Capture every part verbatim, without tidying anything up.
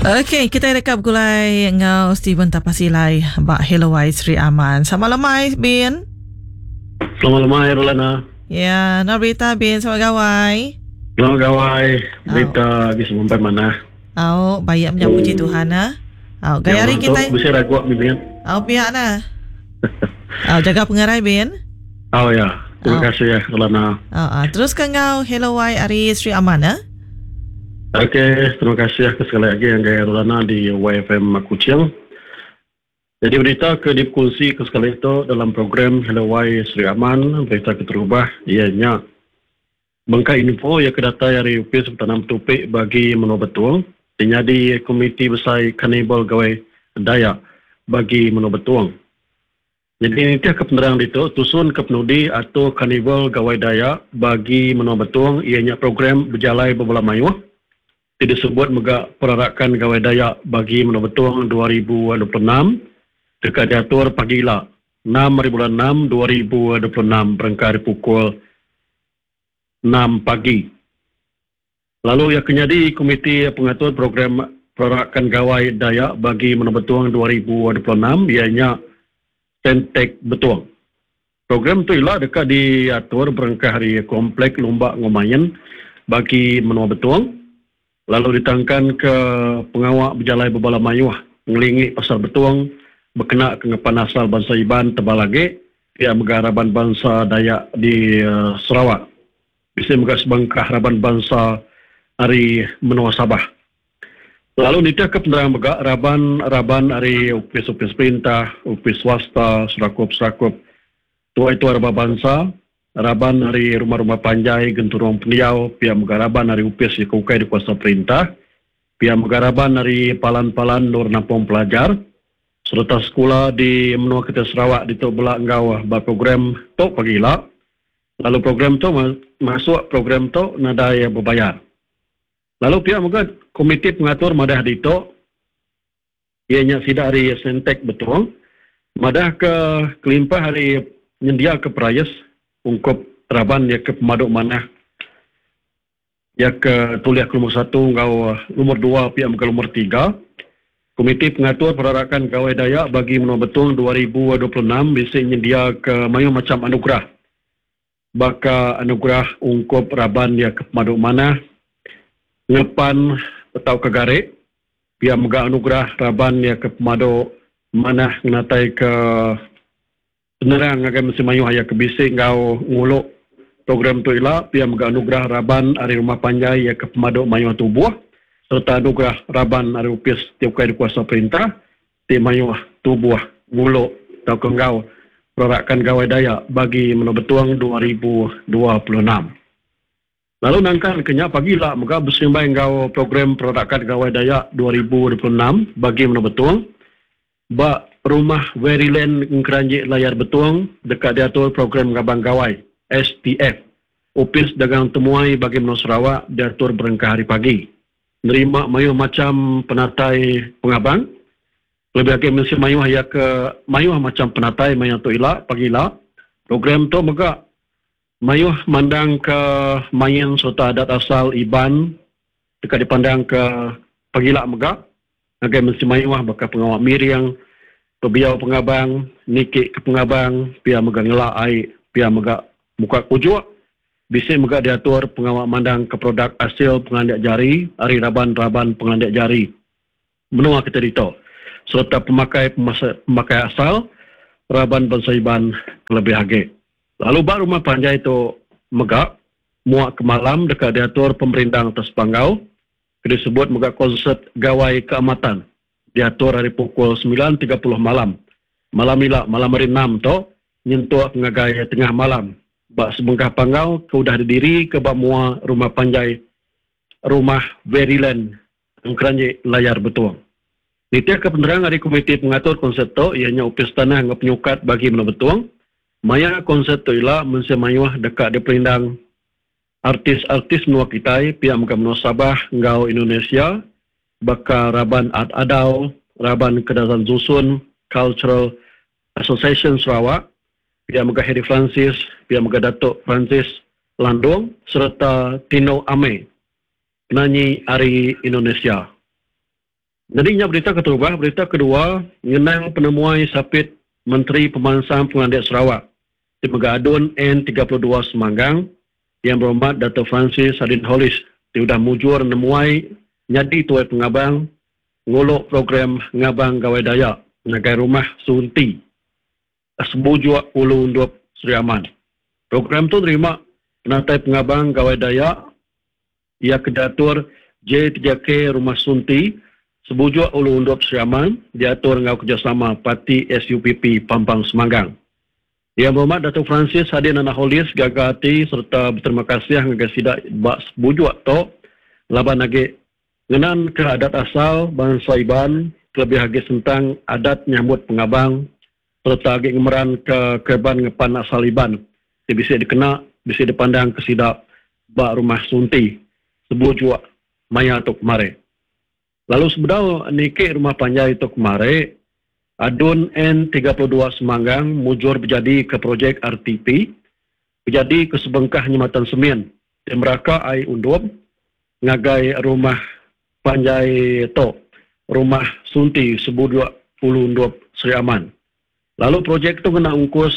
Okey, kita deka begulai enggau Steven Tapasilai ba Hello Y Sri Aman. Selamat lemai, Bin. Selamat lemai, Rolana. Ya, nak berita Bin, selamat gawai. Selamat gawai. Berita lagi semampai manah. Au, baik menyambut puji Tuhan ah. Au, gaya hari kita. Bisa ragu Bin. Au pihak nah. Au, jaga pengerai Bin. Au ya. Terima kasih ya, Rolana. Au, ah. Terus ke enggau Hello Y ari Sri Aman ah. Okey, terima kasih ke sekali lagi yang gaya Rolana di Y F M Kuching. Jadi berita ke dikongsi ke sekali itu dalam program Hello Y Sri Aman, berita keterubah ianya bengkai info yang kedatai dari Upis Tanam Tupik bagi Menua Betung, jadi Komiti Besar Karnival Gawai Dayak bagi Menua Betung. Jadi ini ke penerang itu tusun ke penudi atau Karnival Gawai Dayak bagi Menua Betung ianya program berjalai berbola mayuh. Disebut mega perarakan Gawai Dayak bagi Menua Betung dua ribu dua puluh enam dekat diatur pagi lah enam hari bulan enam dua ribu dua puluh enam berangkat pukul enam pagi. Lalu yang kenyadi Komiti Pengatur Program Perarakan Gawai Dayak bagi Menua Betung dua ribu dua puluh enam ianya Tentek Betung. Program tu ialah dekat diatur berangkat hari Komplek Lumba Ngomayan bagi Menua Betung. Lalu ditangkan ke pengawak berjalai berbala mayuh ngelingi pasar Betung berkena ke ngepan asal bangsa Iban tebal lagi pihak megaraban bangsa Dayak di uh, Sarawak. Bisa megah sebengkah raban bangsa ari Menua Sabah. Lalu nitih ke penerang megah raban-raban ari upis-upis perintah, upis swasta, serakup-serakup tua-tua raban bangsa, raban ari rumah-rumah panjai genturung pendiau, pihak megaraban ari upis dikukai di kuasa perintah, pihak megaraban ari palan-palan nur nampung pelajar, serta sekolah di menua kita Sarawak di Tok Belak Enggau ba program tok pagi la. Lalu program tu masuk program tu nadai berbayar. Lalu pihak moga komiti pengatur madah di tok ianya sida ari Sentek Betung madah ke kelimpah hari nyendia ke perayas ungkup raban ya ke pemaduk manah ya ke tuliah ke nombor satu ngau nombor dua pihak ke nombor tiga. Komiti Pengatur Perarakan Gawai Dayak bagi Menua Betung dua ribu dua puluh enam bisa nyendia ke mayu macam anugerah. Baka anugerah ungkup raban ya ke pemaduk manah ngepan atau ke garik pihak mega anugerah raban ya ke pemaduk manah ngenatai ke penerang agai mesti mayuh ya ke bisik ngau nguluk program tu ila pihak mega anugerah raban ari rumah panjai ya ke pemaduk mayuh tubuh serta anugerah raban ari upis tiap kai kuasa perintah ti mayuh tubuh nguluk tau ke ngau perarakan Gawai Dayak bagi Menua Betung dua ribu dua puluh enam. Lalu nangkan kenya pagi lah mega bersimbai ngau program perarakan Gawai Dayak dua ribu dua puluh enam bagi Menua Betung ba Rumah Veryland Ngkeranjik Layar Betung dekat diatur program Gabang Gawai S T F. Upis Dagang Temuai bagi Menua Sarawak diatur berengkah hari pagi. Nerima mayuh macam penatai pengabang. Lebih lagi mesti mayuh ya ke mayuh macam penatai mayuh tu ila pagi ila. Program tu mega mayuh mandang ke main serta adat asal Iban dekat dipandang ke pagi ila mega. Agai mesti mayuh bakal pengawak miring, pebiau pengabang, nikik ke pengabang, pia mega ngelak air, pia mega muka kujuk. Bisa mega diatur pengawak mandang ke produk hasil pengandak jari, ari raban-raban pengandak jari. Menua kita dito. Serta pemakai pemasa, pemakai asal, raban bangsa Iban lebih agi. Lalu bak rumah panjai itu mega, muak ke malam dekat diatur pemerintah atas panggau, disebut mega konsert Gawai Keamatan. Diatur hari pukul sembilan tiga puluh malam. Malam ila, malam hari enam tu, nyentuh ngagai tengah malam. Bak sebengkah panggau ke udah didiri ke bak mua rumah panjai rumah Veryland Engkeranjik Layar Betung. Nitih ke penerang hari Komiti Pengatur Konsert tu ianya upis tanah ngau penyukat bagi Menua Betung. Maya konsert tu ila mensia mayuh dekat di perindang artis-artis menua kitai pihak mega menua Sabah ngau Indonesia baka Raban Ad Adau, Raban Kedazan Zusun, Cultural Association Sarawak, pihak mega Harry Francis, pihak mega Datuk Francis Landung serta Tino Ame, penyanyi ari Indonesia. Jadi nya berita keterubah, berita kedua ngenang penemuai sapit Menteri Pemansang Pengelandik Sarawak ti mega ADUN N tiga puluh dua Semanggang yang berhormat Dato Francis Sadin Holis ti udah mujur nemuai nyadi tuai pengabang nguluk program Ngabang Gawai Dayak ngagai Rumah Sunti Sebujuk Ulu Undup Sri Aman. Program tu nerima penatai pengabang Gawai Dayak ia kedatur J tiga K Rumah Sunti Sebujuk Ulu Undup Sri Aman diatur ngau kerjasama Parti S U P P Pampang Semanggang. Yang berhormat Dato Francis Sadin Anak Holis gaga hati serta berterima kasih ngagai sidak bak sebujuk tok laban lagi ngenan ke adat asal bangsa Iban kelebih lagi tentang adat nyambut pengabang serta lagi ngemeran ke keban ngepan asal Iban ti bisa dikena bisa dipandang ke sidak bak Rumah Sunti sebujuk maya tok kemari. Lalu sebedau niki rumah panjai itu kemari, ADUN N tiga puluh dua Semanggang mujur berjadi ke projek R T P, berjadi ke sebengkah nyematan semen di Meraka Ai Undup ngagai rumah panjai tok, Rumah Sunti Sebujuk Ulu Undup Sri Aman. Lalu projek tu kena ungkus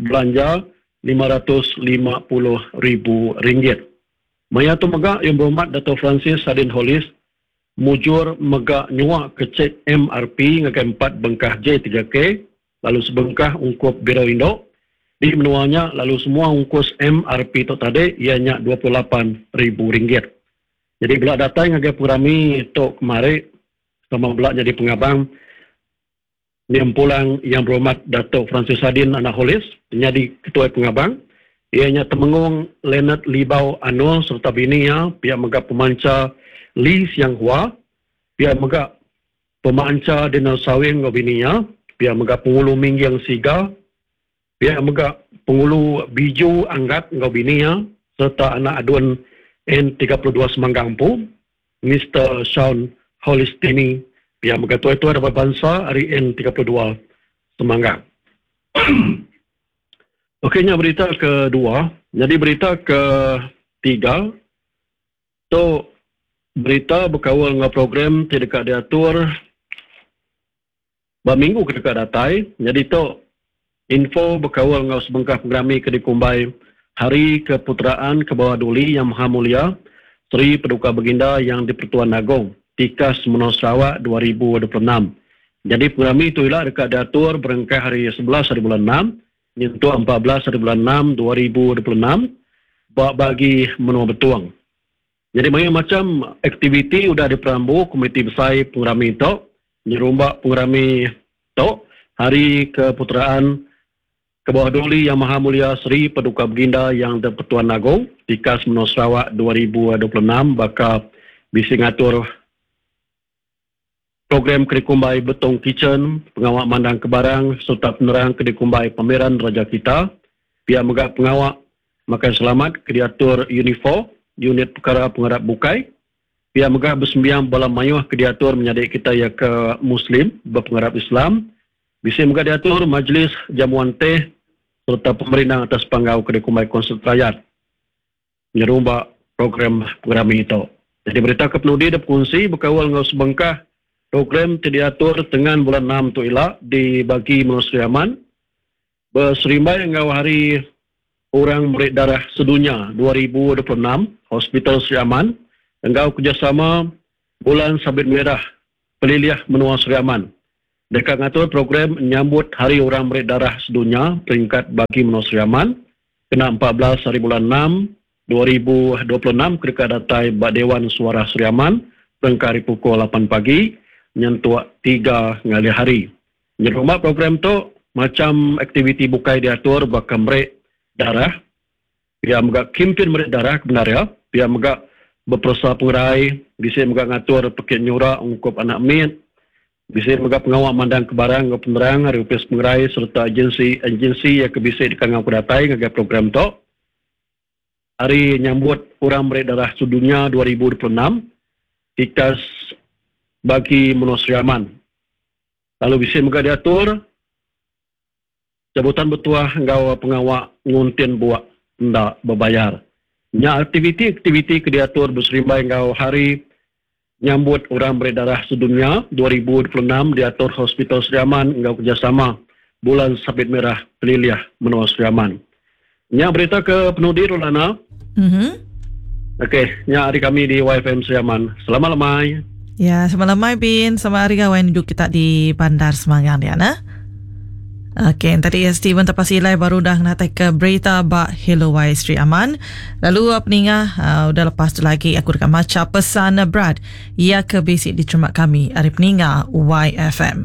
belanja lima ratus lima puluh ribu ringgit. Maya tu mega yang berhormat Dato Francis Sadin Holis mujur mega nyuak ke cek M R P ngagai empat bengkah J tiga K lalu sebengkah ungkup Biro Indok di menuanya lalu semua ungkus M R P tu tadi ianya dua puluh lapan ribu ringgit. Jadi bila datang ngagai purami tok kemari sama belak jadi pengabang yang pulang yang berhormat Dato Francis Sadin Anak Holis jadi ketua pengabang ianya Temenggong Leonard Libau Anul serta bininya pihak mega pemanca Lee Siang Hua, pihak mega pemanca Daniel Sawing ngau bininya, pihak mega pengulu Mingyang Siga, pihak mega pengulu Biju Anggat ngau bininya serta anak adun N tiga puluh dua Semanggang Pu, Mister Sean Holistini, pihak mega tuai-tuai dapat bangsa hari N tiga puluh dua Semanggang. Okeynya berita kedua, jadi berita ketiga tu berita berkawal dengan program tidak diatur berminggu kedekat datai. Jadi tu info berkawal dengan sebengkah programi ke dikumbai Hari Keputeraan ke Bawah Duli Yang Maha Mulia Seri Paduka Baginda Yang di-Pertuan Agong Tikas Menua Sarawak dua ribu dua puluh enam. Jadi program itu ialah dekat diatur berengkah hari sebelas hari bulan enam nyentuh empat belas hari bulan enam dua ribu dua puluh enam bagi menua betuang. Jadi banyak macam aktiviti sudah diperambu Komiti Besar Pengerami Tok, nyerumbak Pengerami Tok, Hari Keputeraan ke Bawah Duli Yang Maha Mulia Seri Paduka Baginda Yang di-Pertuan Agong, Tikas Menua Sarawak dua ribu dua puluh enam, bakal bisi ngatur program Kerikumbai Betong Kitchen, pengawak mandang kebarang serta penerang Kerikumbai Pameran Raja Kita, pihak megah pengawak makan selamat kediatur Unifor, unit perkara pengarap bukai, pihak megah bersembiang bala mayuh kediatur menyadik kita ya ke Muslim berpengarap Islam, bisa megah diatur majlis jamuan teh serta pemerintah atas panggau Kerikumbai Konsert Rakyat menyerumba program pengerami itu. Jadi berita kepenudi dan pengungsi berkawal dengan sebengkah program diatur dengan bulan enam tu ila di bagi Menua Sri Aman berserimbai dengan hari Orang Murid Darah Sedunia dua ribu dua puluh enam Hospital Sri Aman enggau kerjasama Bulan Sabit Merah Peliliah Menua Sri Aman. Dekat ngatur program menyambut Hari Orang Murid Darah Sedunia peringkat bagi Menua Sri Aman kena empat belas hari bulan enam dua ribu dua puluh enam ketika datai Bak Dewan Suara Sri Aman berengkah hari pukul lapan pagi nyentuh tiga ngalih hari. Nyerumah program tu macam aktiviti bukai diatur bakal merek darah, pihak megak kimpin merek darah kebenar ya, pihak megak berpersa pengerai, bisa megak ngatur pekit nyura ungkup anak mit, bisa megak pengawak mandang kebarang ke penerang hari upis pengerai serta agensi-agensi yang kebisa di kangau kudatai ngagai program tu. Hari nyambut orang merek darah sedunia dua ribu dua puluh enam tikas bagi Menua Sri Aman. Lalu bisa megak diatur cabutan bertuah enggau pengawak nguntin buak ndak berbayar. Nya aktiviti-aktiviti ke diatur berserimbai enggau hari Nyambut Orang Meri Darah Sedunia dua ribu dua puluh enam diatur Hospital Sri Aman enggau kerjasama Bulan Sabit Merah Pelilih Menua Sri Aman. Nya berita ke penudi Rolana. Mm-hmm. Okey, nya hari kami di Y F M Sri Aman. Selamat lemai. Ya, selamat lemai Bin. Selamat hari gawai duduk kita di Bandar Semangang dia nah. Okey, tadi ya Steven Tapasilai baru dah ngatai ke berita ba Hello Y Sri Aman. Lalu apa ninga uh, udah lepas tu lagi aku dekat maca pesan berat ia ke basic diterima kami hari peninga Y F M.